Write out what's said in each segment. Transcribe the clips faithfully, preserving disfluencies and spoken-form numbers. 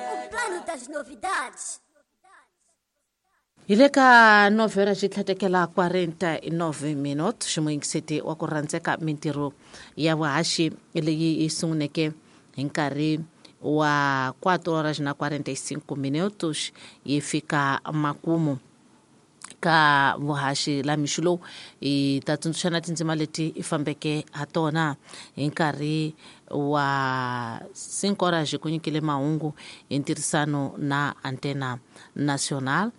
O plano das novidades. Hi le ka nove horas xi tlhatekela quarenta e nove minutos. Ximuyingiseti wa ku rhandzeka, mintirho ya vuhaxi leyi yi sunguneke hi nkarhi wa quatro horas na quarenta e cinco minutos yi fika makumu ka vuhaxi la mixo lowu. Hi ta tsundzuxana tindzima leti i fambeke ha tona. Hi nkarhi wa cinco horas ku nyikile mahungu hi ntirhisano na Antena Nacional.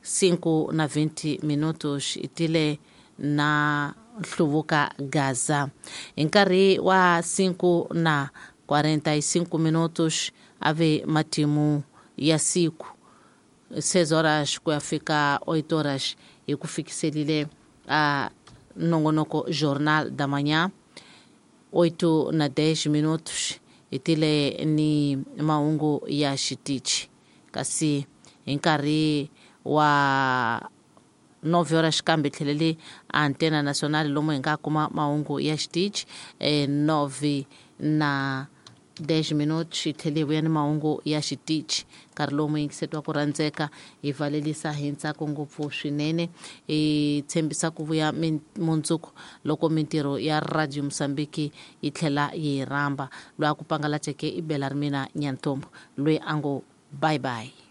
Cinco na vinte minutos i tile na Nhluvuka Gaza. Hi nkarhi wa cinco na quarenta e cinco minutos ave matimu ya siku. Seis horas ku ya fika oito horas hi ku fikiselile a nongonoko Jornal da Manhã. Oito na dez minutos hi tile ni mahungu ya xitichi, kasi hi nkarhi wa nove horas kambe tlhelele Antena Nacional lomu hi nga kuma mahungu ya xitichi. eh, nove na dez minutos hi tlhele hi vuya ni mahungu ya xitichi. Nkarhi lowu muyingiseti wa ku rhandzeka, hi valelisa hi ntsako ngopfu swinene, hi tshembisa ku vuya mundzuku loko mintirho ya Radio Mosambiki yi tlhela yi hi rhamba. Loyi a ku pangalaceke i bela ri mina Nyantombo, loyi a ngo bye bye.